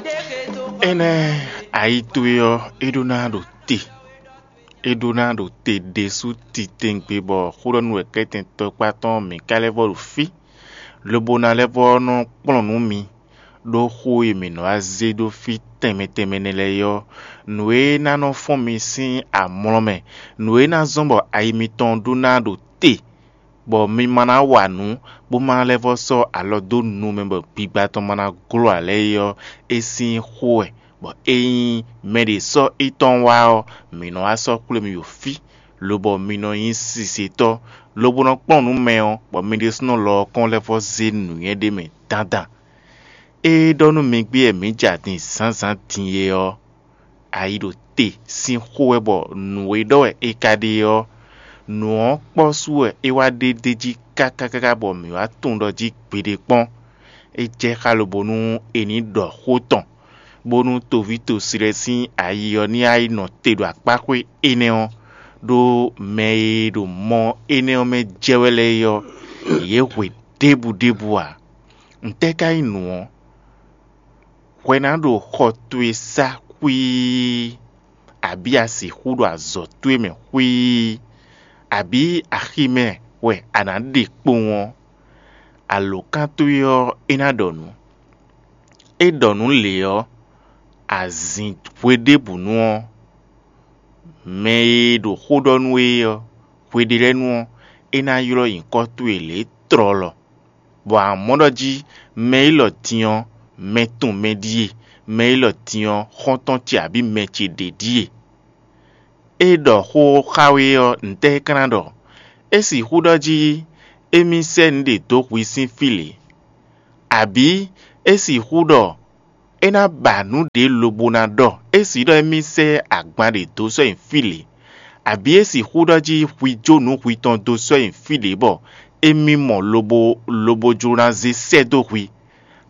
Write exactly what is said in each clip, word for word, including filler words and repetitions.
Énɛ́ ayi towe ɔ́, é ɖó ná ɖo te. É ɖó ná ɖo te ɖésú titewungbe bɔ xó ɖɔ nú wɛ kɛ́tɛn tɔkpá tɔn Mikalɛ́vɔ ɖo fí, lobo ná lɛ́ vɔ́ nɔ kplɔ́n nǔ mi, ɖó xó e mǐ nɔ wá zé ɖó fí tɛnmɛ tɛnmɛ nɛ́ lɛ́ɛ é ɔ́, nǔ e ná nɔ fɔ́n mi sín amlɔ mɛ, nǔ e ná zɔ́n bɔ ayi mitɔn ɖó ná ɖo te, bɔ mi ma ná wa nǔ, bó ma lɛ́ vɔ́ sɔ́ alɔ dó nu mɛ bɔ gbigba tɔn ma ná gló ǎ lɛ́ɛ é ɔ́, é sín xó wɛ, bɔ ényí mɛ ɖě sɔ́ étɔn wá ɔ́, mǐ nɔ wá sɔ́ xwlé mi ɖo fí, lobɔ mi nɔ nyí sisetɔ́, lobo nɔ kplɔ́n nǔ mɛ ɔ́, bɔ mi ɖésúnɔ lɔ ɔ́ kɔn lɛ́ vɔ́ zé nǔnywɛ́ ɖé mɛ dandan. Ée ɖɔ nú mi gbé wɛ mǐ ja din zǎnzǎn din é ɔ́, ayi ɖo te sín xó wɛ bɔ nǔ e ɖɔ wɛ è ka ɖe ɔ́, nǔ ɔ́ kpɔ́ sú wɛ é wá ɖe d'é jí káká káká bɔ mǐ wá tunwun ɖɔ jí gbeɖé kpɔ́n. É jɛ xá lobo nú è ní ɖɔ xó tɔn, bónú toví tosi lɛ́ɛ sín ayi ɔ́ ní wá yi nɔ te ɖo akpáxwé énɛ́ ɔ́, ɖó mɛ e ɖo mɔ énɛ́ ɔ́ mɛ jɛ wɛ lɛ́ɛ é ɔ́, yě hwe ɖěbǔ ɖěbǔ ǎ. Ntɛ́ ka nyí nǔ ɔ́? Hwɛ ná ɖo xɔ towe sá xwíí, abǐ a sixú ɖo azɔ̌ towe mɛ xwíí, abǐ axi mɛ wɛ a nǎ ɖe kpowun ɔ́, alǒkan towe ɔ́ é ná ɖɔ nǔ. É ɖɔ nǔ lě ɔ́, azin hweɖěbǔnu ɔ́, mɛ e ɖo xó ɖɔ nú we ɔ́, hweɖélɛ́nu ɔ́, é ná ylɔ́ nyǐkɔ towe lě tlɔlɔ, bɔ a mɔ ɖɔ jí mɛ élɔ́ din ɔ́, mɛ tɔn mɛ ɖíe, mɛ élɔ́ din ɔ́, xɔ́ntɔn ce abǐ mɛ ce ɖě ɖíe. É ɖɔ xó xá we ɔ́, ntɛ́ é ka ná ɖɔ? É sixú ɖɔ jí émí sɛ́ nǔ ɖě dó hwi sín fí lě? Abǐ é sixú ɖɔ é ná ba nǔ ɖě lobo ná ɖɔ é sixú ɖɔ émí sɛ́ agban ɖě dó sɔ́ nyi fí lě? Abǐ é sixú ɖɔ jí hwi jó nǔ hwi tɔn dó sɔ́ nyi fí lě bɔ émí mɔ lobo lobo jló ná zé sɛ́ dó hwi?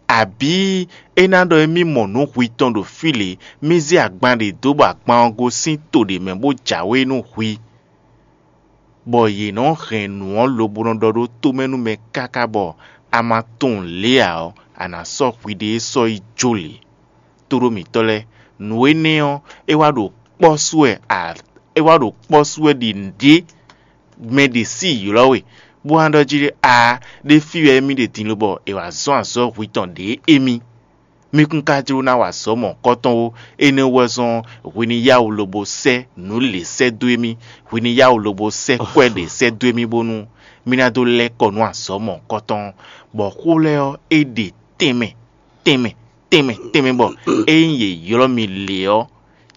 Abǐ é ná ɖɔ émí mɔ nǔ hwi tɔn ɖo fí lě, mí zé agban ɖě dó bɔ agban ɔ́ gosín to ɖě mɛ bó jǎwe nú hwi? Bɔ yě nɔ hɛn nǔ ɔ́ lobo nɔ ɖɔ ɖó tomɛ nú mɛ káká bɔ a ma tunwun lě ǎ ɔ́, a nǎ sɔ́ hwiɖée sɔ́ yi jó lě. Tóɖó mǐtɔn lɛ́ɛ, nǔ énɛ́ ɔ́, é wá ɖo kpɔ́ sú wɛ a é wá ɖo kpɔ́ sú wɛ ɖi nǔɖé mɛ ɖě sí ylɔ́ we, bó wá ɖɔ jí ɖé aa, ɖé fí wɛ émí ɖe din lobɔ è wǎ zɔ́n azɔ̌ hwi tɔn ɖě émí. Mi kún ka jló ná wa azɔ̌ mɔ̌hunkɔtɔn ó; énɛ́ wú wɛ zɔ́n hwi ní yá wǔ lobo sɛ́ nǔ lě sɛ́ dó émí, hwi ní yá wǔ lobo sɛ́ kwɛ́ ɖě sɛ́ dó émí bónú mí ná dó lɛ́ kɔ nú azɔ̌ mɔ̌hunkɔtɔn ɔ́, bɔ xó lɛ́ɛ ɔ́, é ɖe tɛnmɛ tɛnmɛ tɛnmɛ tɛnmɛ bɔ ényí yě ylɔ́ mi lě ɔ́,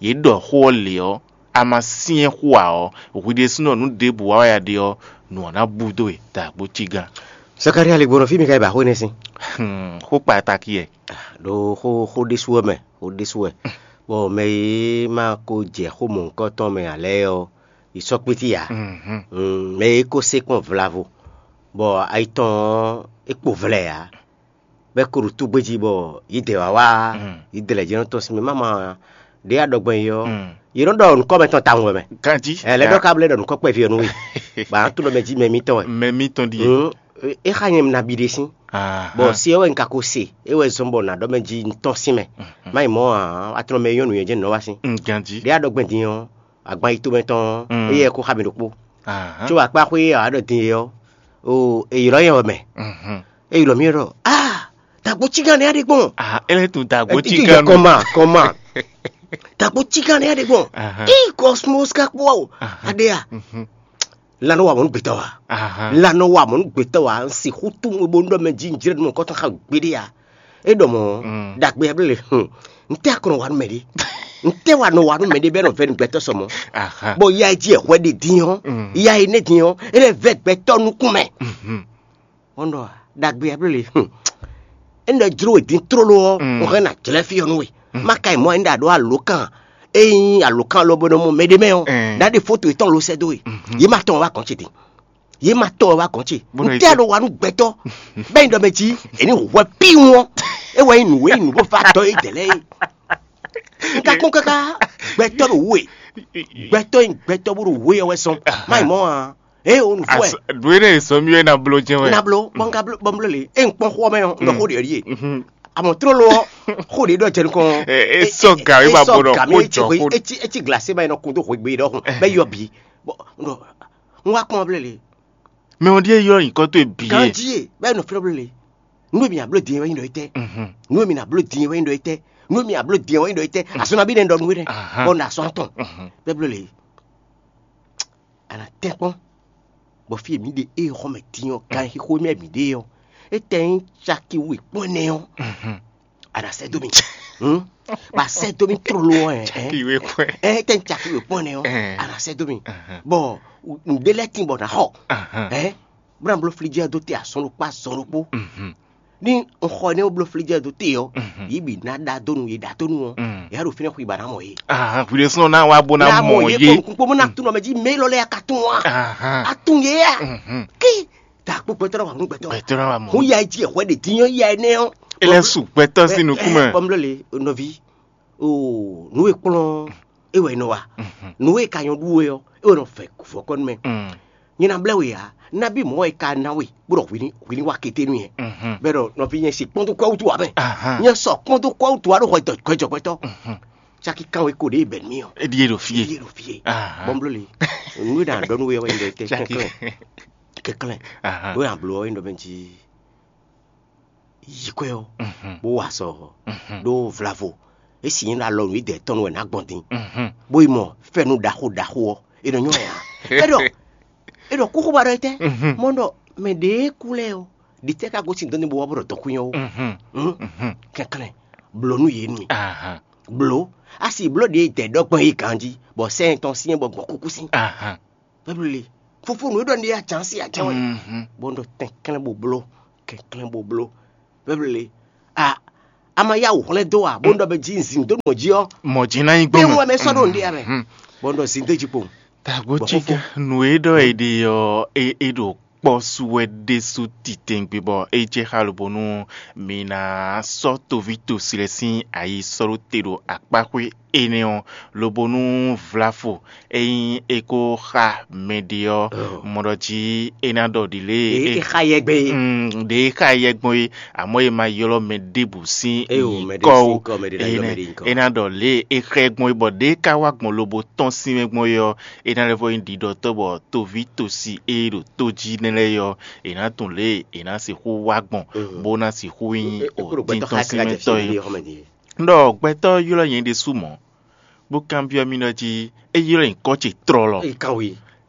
yě ɖɔ xó ɔ́ lě ɔ́, a ma syɛ́n xó ǎ ɔ́, hwi ɖésúnɔ nǔ ɖěbǔ wa wɛ a ɖe ɔ́, nǔ ɔ́ ná bú dó we dǎgbó cígán. Zakalía lě gbɔn fí mi ka yi ba xó énɛ́ sín? Hmm, xó kpa taki yɛ. Ɖo xó xó ɖésú wɛ mɛ, xó ɖésú wɛ. Bɔ mɛ e ma ko jɛ xó mɔ̌hunkɔtɔn mɛ ǎ lɛ́ɛ ɔ́, yi sɔ́ kpíti ǎ. Mhm. Mm, mɛ e ko se kpɔn vlavo, bɔ ayi tɔn ɔ́, é kpo vlɛ ǎ. Bɔ é ko ɖo túgbé jí bɔ yi dɛ wá wá, Mm. Yi dɛ lɛ jɛ nɔ tɔn sinmi mama ɖé aɖɔgbɛn yi ɔ́, Mm. Yi nɔ ɖɔ nukɔ mɛ tɔn tawun wɛ mɛ. Ganji. Ɛ lɛ ɖɔ ka blɛ ɖɔ nukɔ kpɛvi ɔ́ nú we. Ba to ɖɔ mɛ jí mɛ mitɔn wɛ. Mɛ mitɔn ɖíe. Mm, e xa nyɛ nabi ɖe sín. Aha. Bɔ si ɛ wɛ un ka ko se, e wɛ zɔn bɔ na ɖɔ mɛ jí ntɔn sín mɛ. Mhm. Má yi mɔ a, atlɔ mɛ yɔnu yɛ jɛ nɔ wá sín. Mm, ganji. Ɖé aɖɔgbɛn din ɔ́, agban yi to mɛ tɔn, Mm. Eyɛ ko xa mi ɖokpo. Aha. Tso akpa xwé a ɖɔ din yɛ ɔ́, o e ylɔ yɛ wɛ mɛ. Mhm. E ylɔ mi ɖɔ, ah, dagbo cígán ne aɖe gbɔn. Ah, ele tun dagbo cígán nu. Kɔma, kɔma. Dagbo cígán ne aɖe gbɔn. Aha. Ii Cosmos ka kpɔ o. Aha. Aɖe ya. Mhm. Lanɔ wa mɔnu gbɛtɔ wa. Aha. Lanɔ wa mɔnu gbɛtɔ wa. N si xutu mo bo n ɖɔ mɛ ji n jre nu mɔ kɔtɔn xa gbeɖe ya. E ɖɔ mɔ, Mm. Dagbe ya ble. Hmm. N tɛ akɔnɔ wa nu mɛ ɖe. N tɛ wa nɔ wa nu mɛ ɖe bɛ nɔ vɛ nu gbɛtɔ sɔ mɔ. Aha. Bɔ ya e ji ɛhwɛ ɖe din ɔ́, Mm. Ya e ne din ɔ́, e lɛ vɛ gbɛtɔ nukun mɛ. Mhm. Wọ́n ɖɔ ɖagbe ɛ bló le. Hmm. Ényí ɖɔ jló we dín tlóló ɔ́, Mm. Un hɛn ná jlɛ́ fí ɔ́ nú we. Mm. Má ka yi mɔ ényí ɖɔ àɖó alǒkan, ényí alǒkan lɔ bó nɔ mɔ mɛɖé mɛ ɔ́, Mm. Ná ɖe fóto yětɔn lo sɛ́ dó we. Mhm. Yě ma tɔn wá gɔ̌n ce din. Yě ma tɔn wá gɔ̌n ce. Bó nɔ Un tɛ ɖɔ wa nú gbɛtɔ́. Bɛ́ nyi ɖɔ mɛ jí, è ní hwɛ píwɔn. É wɛ nyí nǔ e nyí nǔ bó fa dɔ é dɛ̌ lɛ́ɛ é. Un ka kpɔ́n káká gbɛtɔ́ ɖo wú e. Gbɛtɔ́ nyí gbɛtɔ́ bó ɖo wú e wɛ sɔn. Má yi mɔ a. Ée o nǔ fɔ ɛ. Nǔ énɛ́ e sɔ́ mì wɛ ná bló jɛ́n wɛ. Ná bló, bɔ un ka bló, bɔ un bló le. Ée un kpɔ́n xó ɔ́ mɛ ɔ́, un ɖɔ xó ɖě ɖíe. Mhm. Amɔ tlóló ɔ́, xó ɖě ɖɔ jɛ nukɔn. É sɔ́ gǎ wé ba bɔ ɖɔ xó jɔ xó. Etí glacé ma yi nɔ kun dó xwegbe ɖɔhun bɛ yɔ bǐ. Bɔ un wá kpɔn blé le. Mɛ ɔ́ ɖíe ylɔ́ nyǐkɔ towe bǐ é. Kanjí e bɛ nɔ flɔ́ blé le. Nú èmi abló din wɛ nyí ɖɔ étɛ́. Nú èmi abló din wɛ nyí ɖɔ étɛ́. Nú èmi abló din wɛ nyí ɖɔ étɛ́. Asɔ́ nabí nɛ ɖɔ nú we nɛ. Bɔ na asɔ́ atɔn. Bɛ blé le. A nǎ tɛ́nkpɔ́n, bɔ fí e mǐ ɖe ée xɔ́mɛ din ɔ́, ganxixo mɛ mǐ ɖe ɔ́, étɛ́ nyí caki we kpɔ́n nɛ́ ɔ́, a nǎ sɛ́ dó mì. Ba sɛ́ dó mì tlóló ɔ́, ɛ Caki we kpɔ́n. Ɛ étɛ́ nyí caki we kpɔ́n nɛ́ ɔ́, a nǎ sɛ́ dó mì. Bɔ nǔɖé lɛ́ɛ tín bɔ nǎ xɔ. Ɛ bó ná bló flíjɛ dó te azɔn ɖokpó azɔn ɖokpó. Ní un xɔ énɛ́ wú bló flíjɛ dó te ɔ́, yě bǐ ná ɖa dó nu, yě ɖa dó nu ɔ́, yě á ɖo fínɛ́ xwíba ná mɔ yě. Hwi ɖésú ná wá bó ná mɔ yé. Kpɔnukun kpɔmɔ ná tún nɔ mɛ jí mɛ élɔ́ lɛ́ɛ ka tún wa. A tún yě ya. Kí ta kpó gbɛtɔ́ wa nú gbɛtɔ́. Gbɛtɔ́ wa mɔ. Hún ya jí ẹ̀hwẹ́ ɖe dín yɔ́ ya énɛ́ ɔ́. Ele su gbɛtɔ́ sín nukún mɛ. Bɔmlɔ le nɔví. Oo, nǔ e kplɔ́n é wɛ nɔ wa. Nǔ e ka nyɔ ɖu we ɔ́, é wɛ nɔ fɛ vɔ̌kɔ́ nú mɛ. Nyɛ ná blɛ́ we ǎ, nabí mɔ̌ e ka ná we bó ɖɔ hwi ní wá kété nú nyɛ. Bɛ́ ɖɔ nɔví nyɛ se kpɔ́n dó kɔ́ wútu ǎ mɛ. Nyɛ sɔ kpɔ́n dó kɔ́ wútu ǎ ɖo hwɛ dɔ̌jɔ́gbɛ́tɔ́. Caki kan we ko ɖě bɛ̌ nú mì ɔ́. É ɖíe ɖo fí e. Ɖíe ɖo fí e. Bɔ́nbló le. Nú e ɖo aɖɔ nú we ɔ́ wɛ nyí ɖɔ étɛ́ kɛnklɛ́n. Kɛnklɛ́n. Nú e ablǒ ɔ́ wɛ nyí ɖɔ bɛ́ jí. Yi kwɛ ɔ́, bó wa sɔ ɖó vlavo. É si nyí ɖo alɔ nǔ idɛ tɔn wɛ nǎ gbɔn din. Bó yi mɔ fɛ́nú ɖaxó ɖaxó ɔ́, é nɔ nyɔ́ ɛ ǎ. É ɖɔ é ɖɔ kúxú ba ɖɔ étɛ́? Mɔ ɖɔ mɛ ɖěe kú lɛ́ɛ ɔ́, ɖi tɛ́ ka gosín dɔn ní bo wá bó ɖɔ dɔn kú nyɔ́ ó. Kɛnklɛn, blǒ nú yě nú mì. Blǒ, a si blǒ ɖě dɛ ɖɔ gbɔn yí ganjí, bɔ sɛ́n tɔn syɛ́n bɔ gbɔn kúkú sín. Bíbélì, fofó nǔ e ɖɔ ní ya jǎn sí ajá wɛ. Bó ɖɔ tɛnklɛ́n bó bló, kɛnklɛ́n bó bló. Bíbélì, a a ma yá wǔ hwlɛ́n dó a bó ɖɔ bɛ jí zǐn dó nɔ jí ɔ́. Mɔ̌ jí ná nyí gbɔn mɛ. Wɛn mɛ sɔ́ ɖo nɖé ya mɛ. Bó ɖɔ zǐn dó jí kpo. Tagbo cí gán nǔ e ɖɔ è ɖe ɔ́, é ɖo kpɔ́ sú wɛ ɖésú titewungbe bɔ é jɛ xá lobo nú mi ná sɔ́ toví tosi lɛ́ɛ sín ayi sɔ́ ɖó te ɖo akpáxwé énɛ́ ɔ́, lobo nú vlafo ényí é ko xá mɛ ɖé ɔ́, mɔ ɖɔ jí é ná ɖɔ ɖǐ lé. Ɖě é xa yɛ gbɔn é, àmọ́ è ma ylɔ́ mɛ ɖěbǔ sín nyǐkɔ ó. É ná ɖɔ lě e é xá ɛ gbɔn é, bɔ ɖě é ka wá gbɔn lobo tɔ́n sín mɛ gbɔn é ɔ́, é ná lɛ́ vɔ nyí ɖiɖɔtɔ́ bɔ toví tosi e ɖo tó jí nɛ́ lɛ́ɛ é ɔ́, è nǎ tunwun lě e è nǎ sixú wá gbɔn, bó ná sixú nyí òtíntɔ́n sín mɛtɔ́ é. Ɖɔ gbɛtɔ́ ylɔ́ nyɛ ɖésú mɔ̌, bó kanbyɔ́ mì ɖɔ jí é ylɔ́ nyǐkɔ ce tlɔlɔ.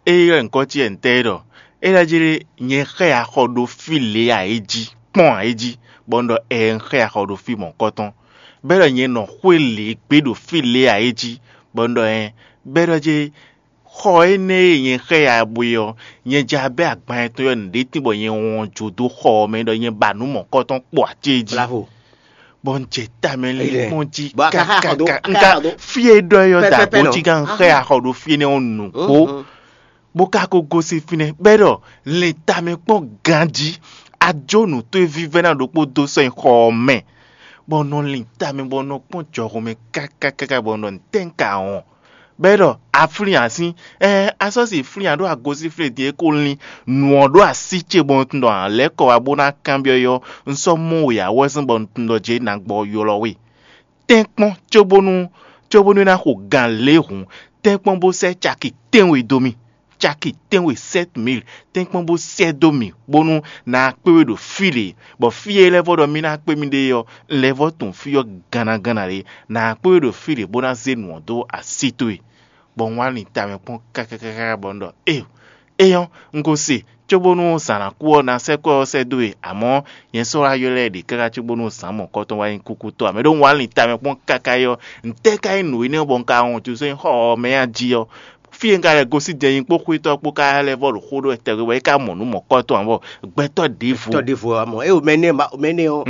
É ylɔ́ nyǐkɔ ce ntɛ́ é ɖɔ é ná jlé nyɛ xá ɛ axɔ ɖó fí lě ǎ é jí, kpɔ́n ǎ é jí, bɔ un ɖɔ ɛ un xá ɛ axɔ ɖó fí mɔ̌kɔtɔn. Bɔ é ɖɔ nyɛ nɔ xwé lě gbé ɖo fí lě ǎ é jí, bɔ un ɖɔ ɛ, bɔ é ɖɔ jí xɔ énɛ́ e nyɛ xá ɛ abwe ɔ́, nyɛ jɛ abɛ́ agban etɔn ɔ́ nǔɖé tín bɔ nyɛ wɔn ɔ́ jó dó xɔ ɔ́ mɛ ɖɔ nyɛ ba nǔ mɔ̌kɔtɔn kpɔ acé jí. Bɔ un jɛ tamɛ lin kpɔ́n jí kákáká. Fí e ɖɔ é ɔ́ da bó cí gán xá ɛ axɔ ɖo fí énɛ́ ɔ́ nǔgbó, bó ka ko gosín fínɛ́, bɔ é ɖɔ lin tamɛ kpɔ́n ganjí, a jó nǔ towe vívɛ́ná ɖokpó dó sɔ́ nyi xɔ ɔ́ mɛ, bɔ un nɔ lin tamɛ bɔ un nɔ kpɔ́n jɔhɔn mɛ kákákáká bɔ un ɖɔ ntɛ́n ka wɔn. Bɔ é ɖɔ a flín ǎ sín, ɛɛ a sɔ́ si flín ǎ ɖó a gosín flín din é ko lin nǔ ɔ́ ɖó así ce bɔ un tunwun ɖɔ a nǎ lɛ́ kɔ wá bó ná kanbyɔ́ é ɔ́, un sɔ́ mɔ we ǎ wɛ zɔ́n bɔ un tunwun ɖɔ Jeyíɖi ná gbɔ ylɔ́ we. Tɛ́nkpɔ́n cóbónú cóbónú é ná xo gan lě hǔn, tɛ́nkpɔ́n bó sɛ́ caki tɛ́nwe dó mì, caki tɛ́nwe sɛ́t mil, tɛ́nkpɔ́n bó sɛ́ dó mì, bónú ná kpé we ɖo fí ɖě, bɔ fí e é lɛ́ vɔ ɖɔ mì ná kpé mì ɖe ɔ́, un lɛ́ vɔ tunwun fí ɔ́ gannaganna ɖě, ná kpé we ɖo fí ɖě bó ná zé nǔ ɔ́ dó así towe. Bɔ un wá lin tamɛ kpɔ́n káká káká bɔ un ɖɔ: Éyo, éyɔ́, un ko se, cóbónú zǎn ná kú ɔ́, ná sɛ́ kwɛ́ ɔ́ sɛ́ dó we. Amɔ̌ nyɛ sɔ́ wá ylɔ́ ɛ ɖě káká cóbónú zǎn mɔ̌kɔtɔn wá nyí kúkútɔ́ ǎ. Mɛ ɖó un wá lin tamɛ kpɔ́n káká é ɔ́, ntɛ́ ka nyí nǔ énɛ́ ɔ́ bɔ un ka wɔn jǒsɛ́n xɔ ɔ́ mɛ a jí ɔ́, fí e un ka lɛ́ gosín jɛ nyi kpó xwétɔ́ kpó ká lɛ́ vɔ ɖo xó ɖó wɛ tɛgbɛ bɔ é ka mɔ nǔ mɔ̌kɔtɔn ǎ bɔ gbɛtɔ́ ɖěvo. Tɔ́ ɖěvo ɔ́ mɔ, éyo mɛ énɛ́ mɛ énɛ́ ɔ́,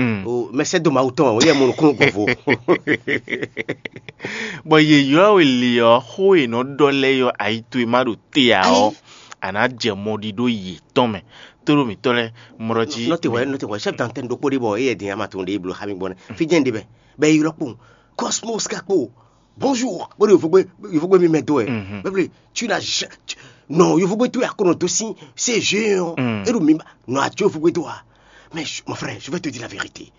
mɛsɛ́ dó Mawu tɔn ɔ́, é yɛ mɔ nukúnnú gbɔn vo. Bɔ yě ylɔ́ we lě ɔ́, xó e è nɔ ɖɔ lɛ́ɛ ɔ́, ayi towe ma ɖo te ǎ ɔ́, a nǎ jɛ mɔ ɖi ɖó yětɔn mɛ. Tóɖó mǐtɔn lɛ́ɛ mlɔ́ jí. Nɔtɛwɛ nɔtɛwɛ chef d'antenne ɖokpó ɖé bɔ éyɛ din ama tɔn ɖe bló xá mi gbɔn nɛ. Fí jɛ́n ɖe bɛ bɛ ylɔ́ kpowun Cosmos ka kpo. Bonjour, bó ɖo yovogbe yovogbe mi mɛ dó ɛ. Bɛbli, tu na ja non, yovogbe to ya kɔnɔ dó sín ces jeux ɔ́. É ɖo mi nɔ adzo yovogbe dó wa. Mais mon frère, je vais te dire la vérité.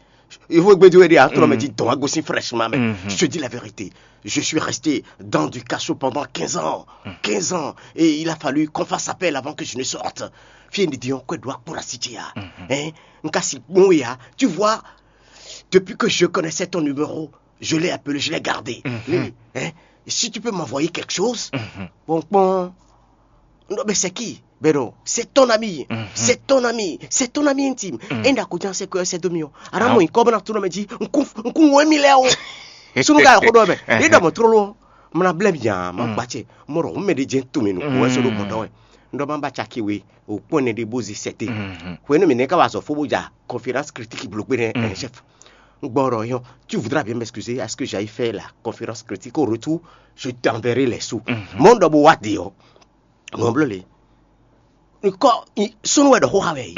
Il faut que Dieu aide à tout le monde dit, donc, Agustin, franchement, mais je te dis la vérité. Je suis resté dans du cachot pendant quinze ans. Quinze ans. Et il a fallu qu'on fasse appel avant que je ne sorte. Fie ni dion, quoi, doit pour la cité, hein? Hein? Nka si bon, ya. Tu vois, depuis que je connaissais ton numéro, je l'ai appelé, je l'ai gardé. Hein? Si tu peux m'envoyer quelque chose, bon, bon. Non, mais c'est qui? Ben non, c'est ton ami. C'est ton ami. C'est ton ami intime. Enda ko jan se ko se do mi o. Ara mo in ko bana tu no me ji. Nku nku wo mi le o. Sunu ka ko do me. Ni do mo trolo. Mana blɛ mi ya, ma gba che. Mo ro me de jen tu mi nu ko so do mo do. Ndo ma ba cha ki we. O point de bozi sete. Ko no mi ne ka wa so fo bo ja conférence critique bloqué ne, chef. Gboro yo, tu voudras bien m'excuser à ce que j'aille faire la conférence critique. Au retour, je t'enverrai les sous. Mon do bo wa de yo. Mɔ bló le. Nkɔ sunu wɛ ɖɔ xó xa wɛ yi.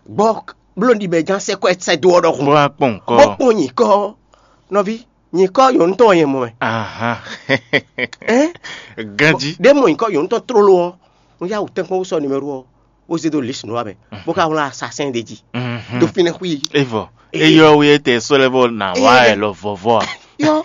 Gbɔ bló ɖi bɛ jan sɛ kɔ sɛ do ɔ ɖɔ xó. Bó wá kpɔn Bó kɔ. Kpɔn nyi kɔ nɔvi, nyi kɔ yɔn tɔn yɛ mɔ mɛ. Ahan. Ɛn? Ganji. Ɖe mɔ nyi kɔ yɔn tɔn tlolo ɔ. N ya wò tɛnkpɔn wosɔ numéro ɔ. Wo zé do liste nɔ wa mɛ. Bó ka wlá assassin ɖe jí. Mhm. Do finɛ xui. Evɔ. Eyɔ wɛ tɛ sɔlɛ vɔ na wa ɛ lɔ vɔvɔ a. Yɔ.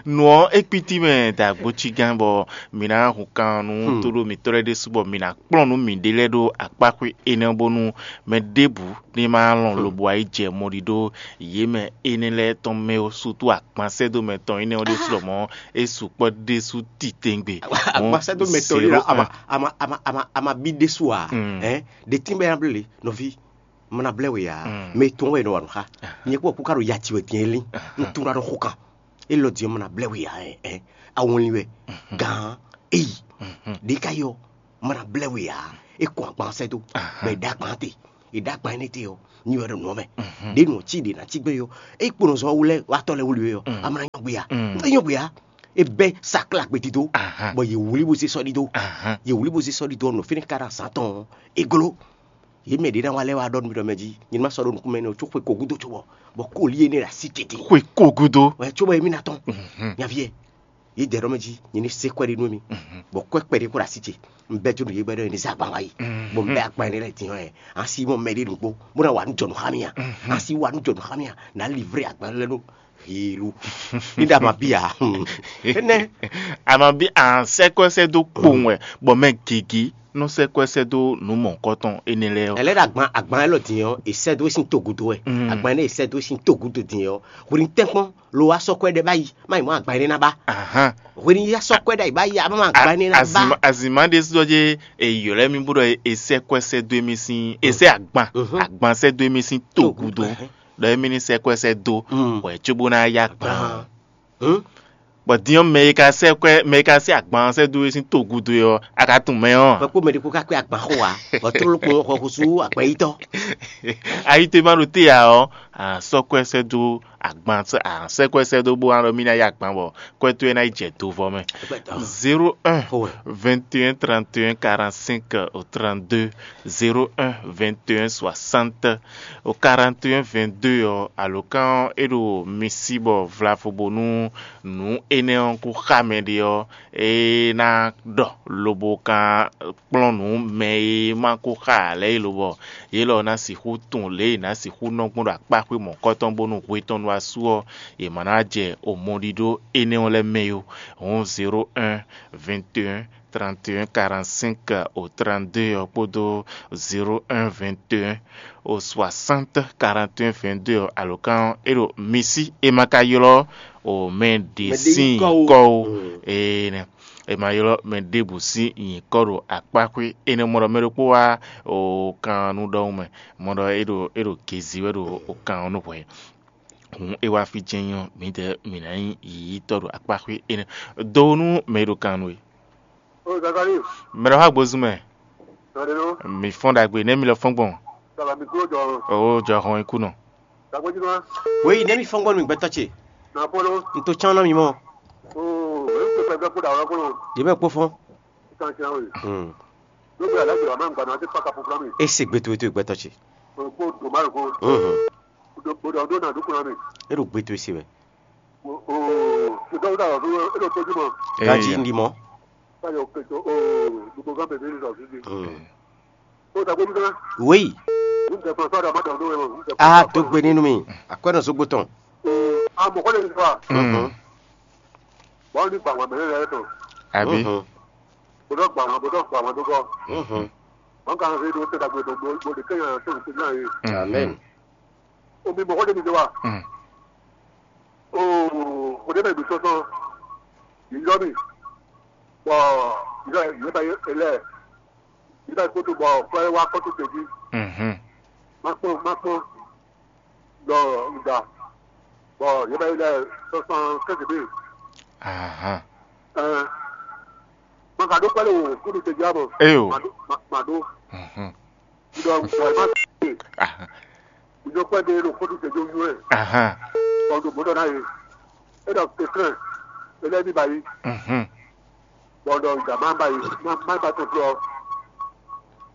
Nǔ ɔ́ é kpítí mɛ dagbo cí gán bɔ mǐ ná hun kan nú tóɖó mǐtɔn lɛ́ɛ ɖésú bɔ mǐ ná kplɔ́n nú mǐɖée lɛ́ɛ ɖó akpáxwé énɛ́ bónú mɛ ɖěbǔ ní ma lɔn lobo wá yi jɛ mɔɖiɖó yě mɛ énɛ́ lɛ́ɛ tɔn mɛ ó, sútú agbansɛ́dó mɛtɔn énɛ́ ɔ́ ɖésú lɔmɔ̌ é sukpɔ́ ɖésú titewungbe. Agbansɛ́dó mɛtɔn énɛ́ ama ama ama ama ama bí ɖésú ǎ. Ɛ̌ ɖe tín bɛ ná blé nɔví. Mana blɛ́ we ǎ. Mɛ tɔn wɛ nɔ wa nǔ xá. Nyɛ kpɔ kú ká ɖo ya ci wɛ din e lín. Un tunwun ɖɔ xo kan. Élɔ́ din ɔ́ mana blɛ́ we ǎ ɛ ɛ. Awɔnlin wɛ. Gǎn eyi. Ɖě ká yɔ mana blɛ́ we ǎ. É kɔn agban sɛ́ dó. Bɔ è ɖó agban te. È ɖó agban énɛ́ te ɔ́, nyi wɛ ɖo nǔ ɔ́ mɛ. Ɖě nǔ ɔ́ cí ɖě ná cí gbé yɔ. É kpo nɔ zɔn wú lɛ́ watɔ́ lɛ́ɛ wúli wɛ ɔ́, a mana nyɔ́ gbe ǎ. É nyɔ́ gbe ǎ. É bɛ́ sakla gbedidó. Bɔ yě wlí bó zé sɔ́ ɖidó. Yě wlí bó zé sɔ́ ɖidó ɔ́, nɔ fínɛ́ ká ɖo azǎn tɔn ɔ́, é gló. Yě mɛ ɖě ná wá lɛ́ wá ɖɔ nú mì ɖɔ mɛ jí, nyɛ ní ma sɔ́ ɖó nukúnmɛ nɛ́ ó, có xwe ko gúdo cóbɔ, bɔ kóli énɛ́ ɖo así tete. Xwe ko gúdo. Wɛ cóbɔ émí ná tɔ́n. Nyaví ɛ, yě jɛ ɖɔ mɛ jí, nyɛ ní se kwɛ́ ɖé nú émí, bɔ kwɛ́ kpɛɖé kó ɖo así ce. Un bɛ́ jó nǔ yě gbɛ́ ɖɔ nyɛ ní zé agban wá yi, bɔ un bɛ́ agban énɛ́ lɛ́ɛ din ɔ́, asi mɔ mɛ ɖé nǔgbó, bó ná wa nǔ jɔ nǔ xá mì a? Asi wa nǔ jɔ nǔ xá mì a? Nǎ livré agban lɛ́ɛ nú Hilu. Ní ɖo ama bí a? Énɛ́. Ama bí a sɛ́ kɔ́ sɛ́ dó kpowun wɛ, bɔ mɛ gěgé nɔ sɛ́ kɔ́ sɛ́ dó nǔ mɔ̌hunkɔtɔn énɛ́ lɛ́ɛ ɔ́. Ɛlɛ́ ɖo agban agban élɔ́ din ɔ́, è sɛ́ dó sín togudo wɛ. Agban énɛ́ è sɛ́ dó sín togudo din ɔ́, hwenu tɛ́nkpɔ́n lo wá sɔ́ kɔ́ ɖɛ báyìí, má yi mɔ agban énɛ́ ná bá. Ahán. Hwenu yá sɔ́ kɔ́ ɖɛ báyìí, a má mɔ agban énɛ́ ná bá. Azǐma azǐma ɖé sɔ́ jɛ èyɔ́ lɛ́ɛ mì bó ɖɔ è sɛ́ kɔ́ sɛ́ dó émí sín, è sɛ́ agban, agban sɛ́ dó émí sín togudo. Ɖɔ émí ní sɛ́ kɔ́ sɛ́ dó wɛ cóbó ná yá agban. Bɔ din ɔ́, mɛ e ka sɛ́ kwɛ́ mɛ e ka sɛ́ agban ɔ́ sɛ́ dó é sín togudo é ɔ́, a ka tunwun mɛ ɔ́ ǎ? Mɛ kpó mɛ ɖé kpó ka kpé agban xo ǎ, bɔ tlóló kpó xɔ xosú agban yítɔ́. Ayi to e ma ɖo te ǎ ɔ́, a sɔ́ kwɛ́ sɛ́ dó agban a sɛ́ kwɛ́ sɛ́ dó bó ná ɖɔ mì ná yí agban bɔ kwɛ́ towe ná yi jɛ dovɔ mɛ. Zéro un vingt et un trente et un quarante-cinq au trente-deux, zéro un vingt et un soixante au quarante et un vingt-deux ɔ́, alǒkan ɔ́ é ɖo mi sí bɔ vlavo bónú nǔ énɛ́ ɔ́ kú xá mɛ ɖé ɔ́, é ná ɖɔ lobo kan kplɔ́n nǔ mɛ e ma ko xa ǎ lɛ́ɛ é lobɔ yě lɔ ná sixú tunwun lě e è nǎ sixú nɔ gbɔn ɖo akpáxwé mɔ̌kɔtɔn bónú hwe tɔn ɖo asú ɔ́, è ma ná jɛ omɔɖiɖó énɛ́ ɔ́ lɛ́ɛ mɛ ó. Hǔn zéro un vingt et un trente et un quarante-cinq au trente-deux ɔ́ kpódó zéro un vingt et un au soixante quarante et un vingt-deux ɔ́, alǒkan ɔ́ é ɖo mi sí, è ma ka ylɔ́ o mɛ ɖě sín nyǐkɔ ó. Ee nɛ, è ma ylɔ́ mɛ ɖěbǔ sín nyǐkɔ ɖo akpáxwé énɛ́ mɔ ɖɔ mɛ ɖokpó wá o kan nú ɖɔhun mɛ, mɔ ɖɔ é ɖo é ɖo gezi wɛ ɖo o kan ɔ́ nú hwɛ. Hǔn é wá fí jɛ́n nyɔ́, mǐdɛɛ mǐ ná nyí yǐyítɔ́ ɖo akpáxwé énɛ́. Do nú mɛ e ɖo kan nú we. Mɛ ɖɔ xá gbozún mɛ. Mi fɔ́n ɖagbe, nɛ̌ mi lɔ fɔ́n gbɔn? Oo, jɔ hɔn ikú nɔ. Wěyi, nɛ̌ mi fɔ́n gbɔn nú mi gbɛtɔ́ ce? Un to cán ná mi mɔ. Yě mɛ kpó fɔ́n. É se gbe towe towe gbɛtɔ́ ce. É ɖo gbe towe se wɛ. Ganji un ɖi mɔ. Wěyi. Ní jɛ kplɔ́n sɔ́ ɖɔ má ɖɔ nú we o, ní jɛ kplɔ́n A sɔ́ do gbe nínú mi. Akwɛ́nɔ zogbo tɔn. A mɔ̌ xó lè ní sɔ a? Mm. Bɔn ní gbàgbà mɛ lɛ tɔn. Àbí? Mhm. Bó dɔ gbàgbà, bó dɔ gbàgbà dó kɔ. Mhm. Wọn kàn fi ɖo tẹ dàgbé dògbò bó lè kẹyìn àyàn tó nìkú náà yìí. Amen. Omi mɔ̌ xó lè ní sɔ wa? Mm. O, o ɖe bɛ gbèsò sɔn. Yìnyɔ́ mi. Bɔ yìnyɔ́ yìnyɔ́ bá yé lɛ. Yìnyɔ́ bá yé kótó bɔ kɔ́ yé wá kótó tèjí. Mhm. Má kpɔn, má kpɔn. Ɖɔ ŋda. Bɔ yě bɛ yi lɛ sɔsɔn kɛ́kɛ bí. Ahan. Ɛɛ, ma ka ɖó kpɛ́ lé wò kúɖu tɛjá mɔ. Eyo. Ma ɖó, ma, ma ɖó. Mhm. Ɖɔ ŋda ma se. Ahan. Ŋdó kpɛ́ ɖé ɖo kúɖu tɛjó nywɛ. Ahan. Bɔ ɖo mɔ̌ ɖɔ ná ye. É ɖɔ kɛklɛ́. É lɛ́ ní ba yi. Mhm. Bɔ ɖɔ ŋda ma ba yi. Ma, ma ba tɔn flɔ.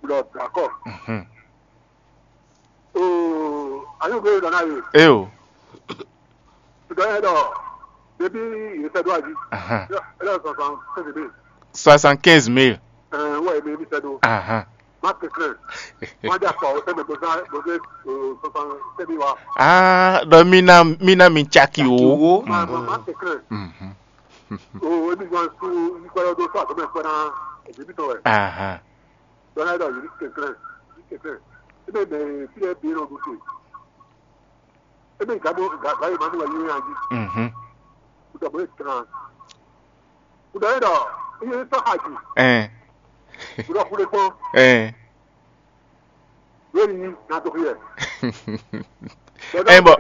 Ɖɔ dakɔ. Mhm. Oo, anyɔ́gbe ɖɔ ná ye. Eo. Ɖɔ yɛ ɖɔ, ɖebi yě sɛ ɖó ají. Ahan. Ɖɔ sɔsɔ sɛsɛ ɖe. Soixante-quinze mille. Ɛɛ, wɔ eme mi sɛ ɖó. Ahan. Má kɛkɛ. Má dza kɔ, o sɛ mɛ bozan, bozan, sɔsɔ sɛbi wa. Ah, ɖɔ mi na, mi na mi caki wo. Wo. Má, má, má kɛkɛ. Mhm. O, ebi zɔn su, yi kpɛ ɖo sɔ atɔmɛ kpɛ na, ebi bi tɔ wɛ. Ahan. Dɔn ɛ ɖɔ yě kɛnklɛ́n, yě kɛnklɛ́n. Ebe mɛ fí ɛ bǐ nɔ ɖu te. Ebe gǎ bó gǎ gǎ yě má nú wɛ yíwé jí. Mhm. Kúdɔ bó yě tán. Kúdɔ yě ɖɔ yíwé sɔ́ xa jì. Ɛn. Kúdɔ kúɖé kpɔ́n. Ɛn. Yóò ní ná tó fi yɛ. Ɛn bɔ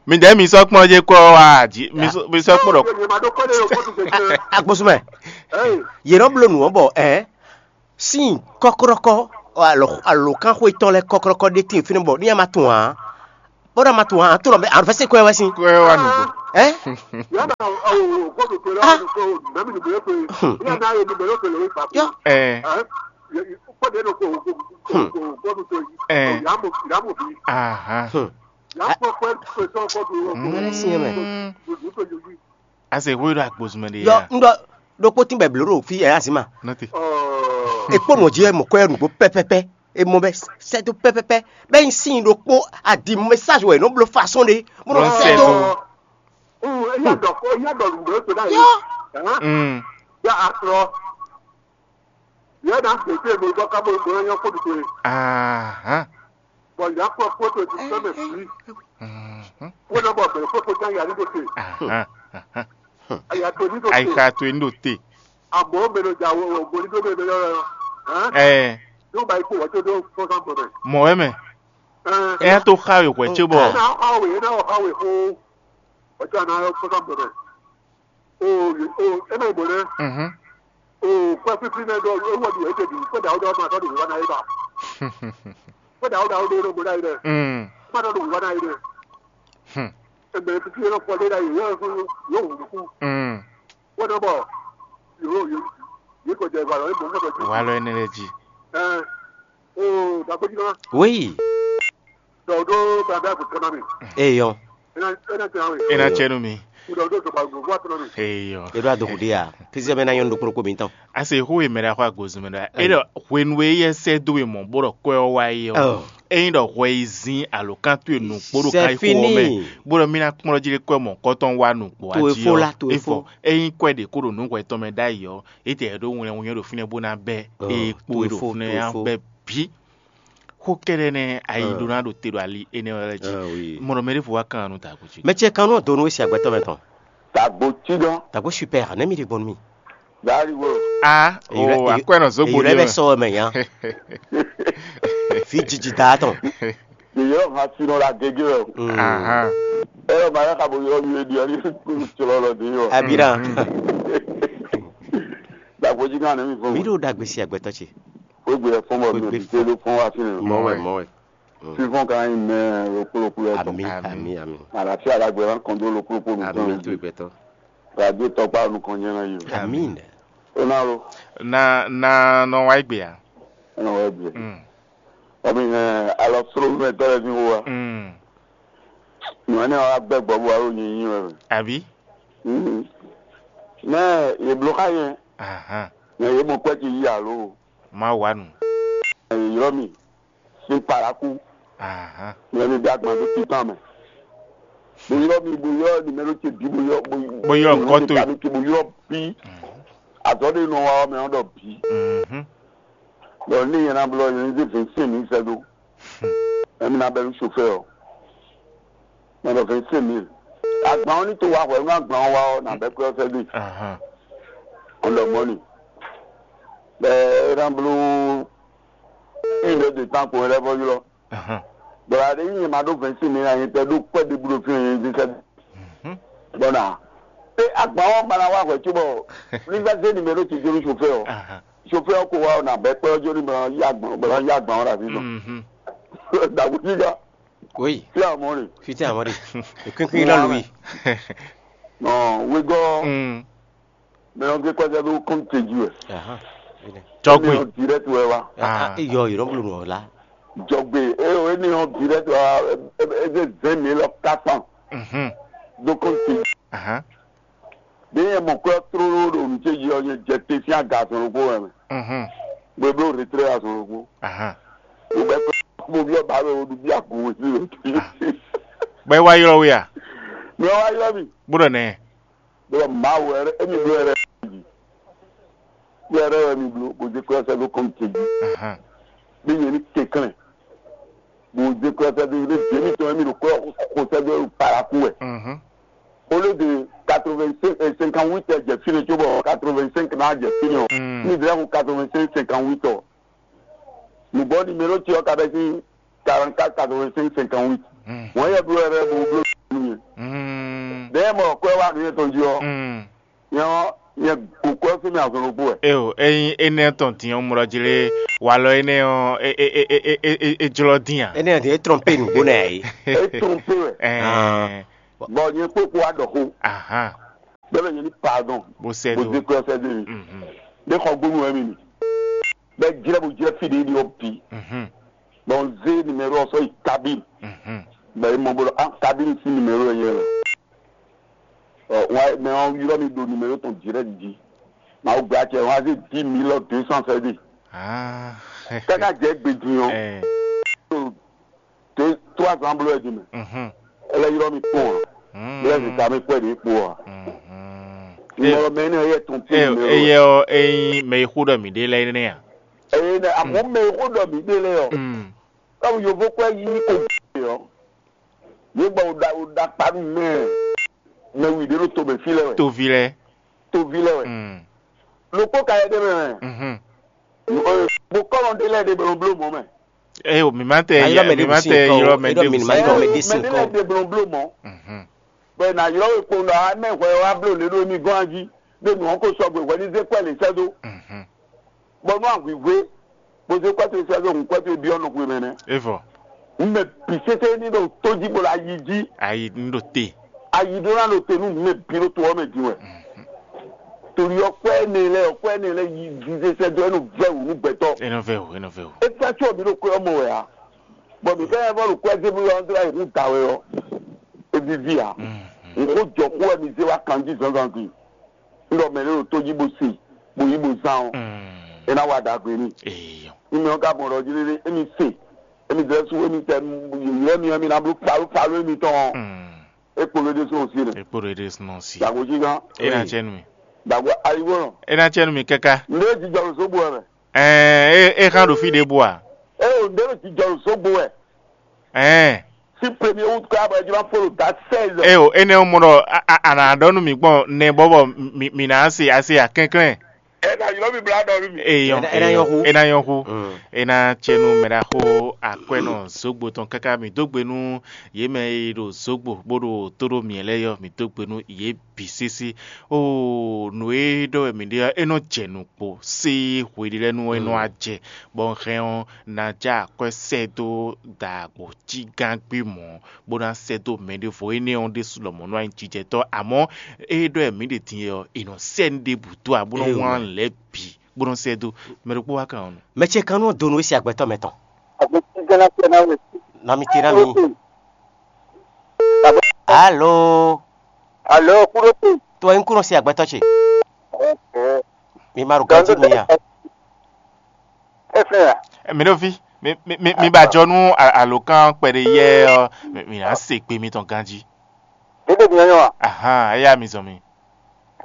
mi dɛ mi sɔ kpɔn dze kɔ wa dzi mi sɔ mi sɔ kpɔn ɖɔ. Yóò ní ma ɖó kɔ́ ɖé yóò kó tún ṣe ṣe. Agbósúmɛ. Ɛyìn. Yě nɔ bló nǔ ɔ́ bɔ ɛ sín kɔ́kɔ́rɔ́kɔ́ alǒkanxwé tɔn lɛ́ɛ kɔ́kɔ́rɔ́kɔ́ ɖé tíin fínɛ́ bɔ ní a ma tunwun ǎ, bó ɖɔ a ma tunwun ǎ, a tunwun bɛ a nɔ fɛ́ se kɔ́ ɛ wɛ sín. Kɔ́ ɛ wá nǔgbó. Ɛ? Yàrá o gbọ́dọ̀ tó lọ́wọ́ ní kó mẹ́mí nìgbẹ́ pé bí a náà yẹ mi bẹ̀rẹ̀ pẹ̀lú ìgbà kú. Yọ. Ɛ. Kọ́dé ló kó gbọ́dọ̀ tó yìí. Ɛ. Yàmù yàmù bí. Ahan. Yàmù pẹ́ pẹ́ sọ́n kọ́ tó. Ɛ sí ɛ mɛ. Lòdù tó yẹ yìí. Ase hwe ɖo agbozumɛ ɖe Yɔ ya. Ŋɖɔ ɖokpó tín bɔ è blǒ ɖo fí ɛ azǐma. Nɔte. È kpó nǔ jí wɛ mɔ kwɛ nǔgbó pɛ́pɛ́pɛ́. È mɔ bɛ sɛ́ dó pɛ́pɛ́pɛ́. Bɛ́ nyi sín ɖokpó adi mɛsáž wɛ è nɔ bló fasɔ́n ɖé. Bó nɔ Bó nɔ sɛ́ sɛ́ dó. Dó. Ŋ, eya dɔ ko eya dɔ nǔgbó to ɖa yi. Yɔ. Hɛn? Mm. Ya atrɔ. Ya na gbèsè mo gbɔ ká mo gbɔ nyɔ kó dùkú ye. Ahan. Bɔ ya kpɔ kó to ti sɛmɛ fi. Mhm. Wo na bɔ bɛ kó to jan ya ni do se. Ahan. Ahan. Aya to ni do se. Ayixa to enu ɖo te. Abo mɛ no ja wo wo bo ni do mɛ mɛ yɔ yɔ. Hɛn? Ɛɛ. Yóò bá ikú wọ́n tó dó fọ́nrán bọ̀ mẹ́. Mɔ wɛ mɛ. Ɛɛ. Ɛ to xa yo hwɛ tso bɔ. Ɛna awe ɛna awe xo. Wọ́n tó àná fọ́nrán bọ̀ mẹ́. O o ɛna ìbò náà. Mhm. O kpɛ fífi náà dɔ ewɔ di ɛjɛ di kpɛ dàwó dɔ ma tọ́ di wíwá náà yé ba. Kpɛ dàwó dàwó dé ló gbóná yé dɛ. Mm. Má tọ́ di wíwá náà yé dɛ. Hmm. Ɛmɛ fífi yẹn lọ fọ dé la yé yóò fún yóò wù kú. Mm. Wọ́n dọ́ bọ̀ yóò yóò yóò kọjá ìwà lọ yóò mọ̀ ní kọjá. Wà á lọ ẹni rẹ jì. Ɛ o dàgbéjì náà. Oui. Dɔw ɖó gbàgbé àgùntàn náà mi. Eyɔ. Ena ena tẹ awe. Ena tsɛnu mi. Dɔw ɖó sɔgbà gbogbo àtúnà mi. Eyɔ. Eɖo adokuɖe a? Kristian bɛ na nyɔnu ɖokpo ɖokpo mitɔn. Ase xó e mɛ ɖa xɔ agbozun mɛ ɖa. Eɖɔ hwenu e yɛ sɛ dó we mɔ bó ɖɔ kɔɛ ɔ wá yi ɔ. Ɔ. Eyin ɖɔ hwɛ yi zin alo kan to enu kpó ɖo C'est kan yi xó ɔ mɛ. Fini. Bó ɖɔ mi na kplɔ́ jí ɖé kɔɛ mɔ kɔtɔn wá nu kpó To ají efo ɔ. La, to Efɔ. Efo. Eyin kɔɛ ɖe kó ɖo nǔ hwɛ tɔn mɛ ɖ'ayǐ ɔ. Etɛ ɖó wlɛnwlɛn ɖo fínɛ́ bó ná bɛ́. Ɔ, Ee kpó to ɖo efo, fínɛ́ to ná efo. Bɛ́ bí. Xó kɛɖɛ nɛ́ ayi ɖó ná ɖo te ɖo ali énɛ́ lɛ́ɛ jí. Ah, oui. Mɔɖɔ mɛ ɖěvo wá kan nu ta ko jí. Mɛ ce kan nɔ do nú we si agbɛtɔ mɛ tɔn. Tagbo cí dɔn. Tagbo super, ne mi ɖe gbɔn mi. Dari wo. A o akwɛ nɔ zogbo ɖe bɛ mɛ. Sɔ mɛ nya. Fi jiji da tɔn. Yeyɔ ha sinɔ la gege o. Mm. Ahan. Ɛ ma ya ka bo yɔ mi di ali tɔlɔ lɔ di yɔ. Abira. Tagbo jí kan ne mi fɔ. Mi ɖo dagbe si agbɛtɔ ce. Wegbe yɛ fɔn bɔ mi Wegbe ò ti ló fɔn wá fínɛ́. Mɔ wɛ, mɔ wɛ. Fífɔ́n ka nyí mɛ ɖokpó ɖokpó lɛ́ɛ tɔn. Ami, ami, ami. Àlàáfíà lágbè wá kàn dó ɖokpó ɖokpó mi Ami tɔn. To ìgbẹ́tọ́. Ràdíò tɔkpá nukɔn nyɛ náà yìí. Ami. Ó ná ro. Na na nɔ wá gbé ya. Ẹ nà wá gbé. Mm. Ọmọ ìyẹn alọ sóró mẹ tọ́lẹ̀ ní wo wa. Mm. Nù ẹni wàá gbẹ gbọ́ bó wa ló yin yín wẹ. Àbí? Mm. Mẹ yeblo ká yẹn. Ahan. Mẹ yeblo kpẹ́ ti yí alo. Má wà nù. Ẹ yọrọ mi. Sin paraku. Ahan. Mɛ mi ɖo agban ɖo títàn mɛ. Bo ylɔ́ mi, bo ylɔ́ numéro ce bǐ, bo ylɔ́, bo Bo ylɔ́ bo kɔ towe. Bo ylɔ́ bǐ. Azɔ̌ ɖé nɔ wa ɔ́ mɛ ɔ́ ɖɔ bǐ. Mhm. Bɔ ní nyɛ ná blɔ́ nyɛ ní zé vingt-cinq mille sɛ́ dó. Mɛ mi ná bɛ́ nú chauffeur ɔ́. Mɛ ɖɔ vingt-cinq mille. Agban ɔ́ ní to wa hwɛ̌ nú agban ɔ́ wa ɔ́, nǎ bɛ́ kwɛ́ ɔ́ sɛ́ dó. Ahan. On ɖɔ mɔ̌ ni. Bɛ é ná bló une heure de temps ko é lɛ́ vɔ ylɔ́. Ahan. Bɔ a ɖe nyɛ ma ɖó vingt-cinq mille anyɛ tɛ ɖó kwɛ́ ɖěbǔ ɖo fí nyɛ ní sɛ́. Mhm. Bɔ na. É agban ɔ́ ma ná wa hwɛ̌ cóbɔ ní vɛ́ zé numéro ce jó nú chauffeur ɔ́. Ahan. Chauffeur ɔ́ ko wá ɔ́ nǎ bɛ́ kpɛ́ ɔ́ jó ní bɔ ná yí agban bɔ ná yí agban ɔ́ ɖo afi tɔn. Mhm. Dǎgbó jíga. Oui. Fí amɔ̌ ni. Fítɛ́ àmọ́ ɖe. Ìpínpín lɔ lu yìí. Nɔ wégɔ́ Mm. Mɛ ɔ́ gé kɔ́ sɛ́ ɖó kɔ́mite jí wɛ. Aha. Ele. Tɔgbe. Énɛ́ ɔ́ direct wɛ wá. Ah. Ah, eyɔ yɔrɔ bolo nɔ la. Jɔgbe, eye o énɛ́ ɔ́ direct wá, eze vingt mille quatre cents Mhm. Ɖó kɔ́mite jí. Aha. Ɖé nyɛ mɔ kwɛ́ tlóló ɖo nǔ ce jí ɔ́, nyɛ jɛ te sín aga azɔn ɖokpó wɛ mɛ. Mhm. Bó e bló retrait azɔn ɖokpó. Aha. Bó bɛ́ kpɛ́ bó byɔ́ ba wɛ o ɖu bí agun wɛ sí wɛ. Bɔ é wá ylɔ́ we a? Mɛ wá ylɔ́ mi. Bó ɖɔ nɛɛ. Bó ɖɔ Mawu wɛ émi bló wɛ jí. Wɛ wɛ mi bló bó dé kɔ́ sɛ́ ɖó kɔ́mite jí. Aha. Bí nyɛ ní kɛnklɛ́n. Bó dé kɔ́ sɛ́ ɖó ilé jɛ mǐtɔn émi ɖo kɔ́ xo sɛ́ ɖó paraku wɛ. Mhm. Au lieu de quatre-vingt-cinq, euh, cinquante-huit ɛ jɛ fínɛ́ cóbɔ quatre-vingt-cinq ná jɛ fínɛ́ ɔ́, Mm. mi ɖlɛ́ xo quatre-vingt-cinq cinquante-huit ɔ. Nǔgbɔ numéro ce ɔ́ ka bɛ́ sín quarante-quatre quatre-vingt-cinq cinquante-huit. Mm. Wọ́n yɛ bló yɛ bó bló nú mi. Mm. Dɛ̌ mɔ kwɛ́ wá nǔ yɛ tɔn jí ɔ́, Mm. nyɛ ɔ́, nyɛ gǒ kwɛ́ fún mi azɔn ɖokpó wɛ. Eo, ényí énɛ́ tɔn din ɔ́, mlɔ jí lé walɔ énɛ́ ɔ́, é é é é é é é jlɔ́ dín a? Énɛ́ ɔ́ din é trɔ́npé nǔgbó nɛ ǎ é. É trɔ́npé wɛ. Ɛɛ. Bɔ nyɛ kpókpó wá ɖɔ xó. Ahan. Bɛ́ bɛ nyɛ ní pardon. Bó sɛ́ Bó dó. Dé kɔ́ sɛ́ dó mi. Mhm. Ɖé xɔ gbónú wɛ mi mi. Bɛ jlɛ́ bó jlɛ́ fí ɖé ɖi ɔ́ bǐ. Mhm. Bɔ un zé numéro ɔ́ sɔ́ yi cabine. Mhm. Bɔ é mɔ bó ɖɔ ah cabine sín numéro ɔ́ yɛ lɛ. Ɔ wa mɛ ɔ́ ylɔ́ mi ɖo numéro tɔn direct jí. Màá gbé acɛ wọn á zé dix mille deux cents sɛ́ dé. Ah. Káká jẹ́ gbèdì yàn. Eh. Tó trois ans bló ɛ di mɛ. Mhm. Ɛ lɛ ylɔ́ mi kpɔn ǎ. Mm. Blɛ́ mi ta mi kpɛ́ ɖě kpo ǎ. Mhm. Nɔ mɛ énɛ́ yɛ tɔn pé Eye numéro eye ɔ́, ényí mɛ e xó ɖɔ mǐ ɖe lɛ́ɛ nɛ́ a? Eye nɛ àmọ́ mɛ e xó ɖɔ mǐ ɖe lɛ́ɛ ɔ́, Mm. Kɔmi yovo kpɛ́ yí ko gbé ɔ́, yě gbɔ wò ɖa wò ɖa kpa nú mɛ mɛ wǐ ɖé ɖo to mɛ fí lɛ́ɛ wɛ. Toví lɛ́ɛ. Toví lɛ́ɛ wɛ. Mm. Ɖokpó ka yɛ ɖé mɛ wɛ. Mhm. Bo kɔlɔn ɖé lɛ́ɛ ɖé bɔ bló mɔ mɛ. Eye o, mǐ ma tɛ Ayɔ mɛ mǐ ɖé ma bu tɛ sin kɔ o, ylɔ mɛ ɖé bu sin kɔ. Mɛ ɖé lɛ́ɛ ɖé bló bló mɔ. Mhm. Bɛ na ylɔ we kpo nɔ amɛ hwɛ wa bló lé ɖo mi gɔn aji. Ɖe nù ɔn ko sɔgbe hwɛ ní zé kwɛ lè sɛ dó. Mhm. Bɔ nú ahwǐhwé bó zé kwɛ tó sɛ dó hùn kwɛ tó biɔ nɔ hwe mɛ nɛ. Evɔ. Mɛ bǐ sésé ní ɖo tó jí bó la yi jí. Ayi ní ɖo te. Ayi ɖó ná ɖo te nú mɛ bǐ ɖo to ɔ́ mɛ din wɛ. Mhm. Torí ɔkwɛ ne lɛ ɔkwɛ ne lɛ yi zizɛ sɛ dó ɛnu vɛ wù nú gbɛtɔ. Enɔ vɛ o, enɔ vɛ o. Efɛ tí omi ɖo kɔyɔ mɔ wɛ a. Bɔn mi fɛ vɔ ɖo kɔɛ zé mi wɛ ɔndra yi hun da wɛ ɔ. Evivi a. Mhm. Nko jɔ kó wɛ mi zé wa kanji zanzan gbe. Ndɔ mɛ ɖe ɖo tó jí bó se bó yí bó zán ɔ. Mhm. E ná wa dagbe ni. Eyɔ. Imi ɔ ka bɔn ɖɔ jí ɖéɖé emi se emi dlɛ su emi tɛ yɔ mi ɔ mi na bló falo falo emi tɔn. Mhm. E kpo ɖe ɖésú ɔ́ sí ɖe. E kpo ɖe ɖésú ɔ́ sí. Dàgbò jí gán. E na tsɛ nu mi. Dàgbò ayiwo nɔ. E na tsɛ nu mi kaka. Ndé jijɔ ló sógbó wɛ mɛ. Ɛɛ e e hã ɖo fí ɖěbǔ a? E o ndé jijɔ ló sógbó wɛ. Ɛɛ. Si premier août kɔ abɔ ɛdjɔ folo da seize. E o énɛ́ mɔ ɖɔ a a a nà ɖɔ nú mi gbɔn nɛ bɔbɔ mi mi nà se ase akɛnklɛn. Ena ylɔ mi bla ɖɔ nú mi. Eyɔn Ena- ena eyɔn hu. Ena yɔn hu. Mm. Ena tsenu mɛ ɖaxo akwɛnɔ zogbo tɔn kaka mi dó gbe nú yě mɛ e ɖo zogbo bó ɖo tó ɖó miɛ lɛ́ɛ yɔ mi dó gbe nú yě bǐ sésé. Oo nǔ e ɖɔ wɛ mǐ ɖe ɔ́, é nɔ jɛ nǔ kpo sí hweɖelɛ́nu ɔ́ é nɔ wá jɛ, bɔ un hɛn ɔ́ ná já akwɛ́ sɛ́ dó dagbo cí gán gbé mɔ̌, bó ná sɛ́ dó mɛ ɖěvo énɛ́ ɔ́ ɖésú lɔmɔ̌ nú anyijijɛtɔ́. Amɔ̌ é ɖɔ wɛ mǐ ɖe din e ɔ́, è nɔ sɛ́ nǔ ɖěbǔ dó ǎ, bó nɔ Ée, wlán nǔ lɛ́ɛ bǐ, bó nɔ sɛ́ dó mɛ ɖokpó wá kan ɔ́ nu. Mɛ ce kan nɔ do nǔ e se agbɛtɔ́ mɛtɔn. Agbɛtɔ́ gánná tɛ ná wɛ. Na mi te ná mi. Alo. Alo, kúɖó kú. To yin kúrò se agbɛtɔ́ ce. Ok. Mi ma ɖo ganji mi ya. Ẹ fẹ́ ya. Mɛ ɖo fi. Mi, mi, mi, mi ba jɔ nú a- alokán kpɛɖé yɛ ɔ́, mi, mi ná se gbe mitɔn ganjí. Dédé mi nyɔ a? Ahan, eya mi zɔn mi.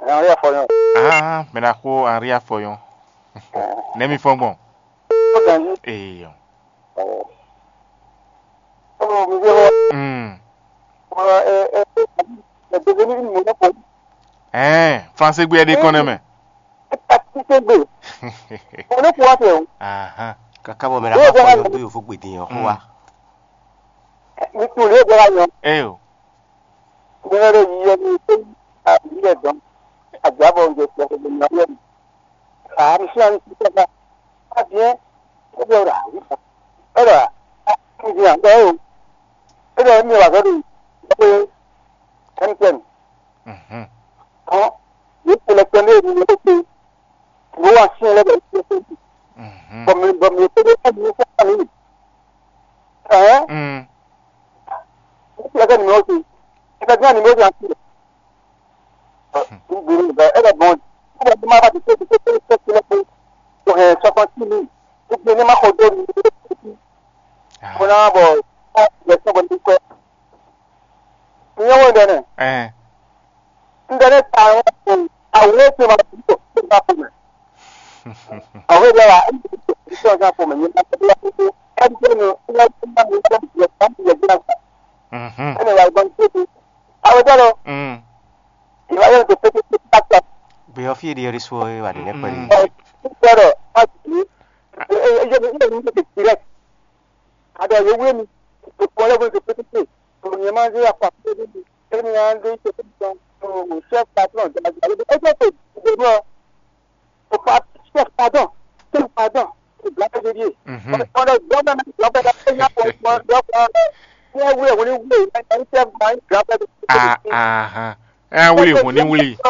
Ɛ ɔ́ yɛ fɔ nyɔ. Ahan, mɛ na xo Henri afɔyɔn. Nɛ mi fɔn gbɔn. Ó ganjí. Eyɔ. Ó mi jẹ́ wọ́n. Mm. Wọ́n ẹ ẹ ẹ ẹ dédé ní ìmọ̀ náà pọ̀. Ɛn, français gbé ɛdí kɔn nɛ mɛ. Ẹ ta títí gbé. Mo ní kó wá tẹ̀ o. Ahan. Kaka bɔ mɛ la bá fɔ yɔ dó yòófó gbèdé yẹn xó wa. Ní tún lè gbọ́dọ̀ yọ. Ẹ o. Gbọ́dọ̀ lè yí ẹni tó yí àbí ẹ̀ dán. Àgbà bọ̀ ń jẹ pẹ̀lú ìyàwó ẹ̀. Àárín sí àárín sí pẹ̀lú. Àbí ẹ. Ó bẹ̀ rà. Ẹ rà. Ìdí àgbà ẹ o. Ẹ rà mi wà sọ́dọ̀. Ẹ pé M T N. Mhm. Hɔn, ní kplɔ́kplɔ́ ní èmi ló pé, ìwé wá sí ẹlẹ́dàá ní kplɔ́kplɔ́ ní. Mhm. Bɔ̀mí bɔ̀mí tó dé ní fún mi. Ɛ̀hɛn, Mm. ní kplɔ́kplɔ́ ní mi ó ti, ẹ̀ka gbọ́n ní mi ó ti àti rẹ̀. Gbèrú ìgbà ẹ̀dá bọ́n, ó bá ti má bá ti tó ti tó tó tó tó tó tó hẹ̀ sọ́kàn sí mi. Gbogbo ní má kọ dó mi. Ah. Mo náà bọ̀ ọ́ yẹ sọ́kàn ní pẹ́. Ìyẹn wọ́n dẹ̀ nẹ̀. Ɛn. Ŋɖe ɖé ta ɔ́, awě ce ma ɖo tó ká xomɛ. Awě ɖé wa, é ɖo tó ká xomɛ, nyɛ ma ɖo tó. Ɛn tɛ nɔ, ŋa tó ma mi ɖo tó ká mi yɛ gbla. Mhm. Ɛn wa gbɔn tó tó. Awě ɖé lɔ, Mm. ìwà yɛ tó pété tó ká tó. Be ɔ fi ɖi ri so e wa ɖi ne kpɛ Mm. Ɔ, tó tɔ ɖɔ, ɔ ti, e e e yɛ mi yɛ mi yɛ direct. Aɖɔ yewlé mi, kpɔn lɛ́ bó ɖo pétépé, ɖo nyɛ ma zé akpa kpé ɖé mi, émi ná ɖó yi tɛ́ tɔn, o chef patron da da da é jẹ́ pé ìdè mọ́, o pa chef pardon, chef pardon, o gbà pé dédé, Mhm. Ɔ̀dọ̀ gbọ́n mẹ́rin gbọ́n bẹ́ẹ̀ bá yá pọ̀ pọ̀ gbọ́n pọ̀, ní ẹ wúlò wúlò wúlò yìí, ní chef máa ń gbà pé dédé. Ah, ah, ah. Ẹ wuli hun ní wuli.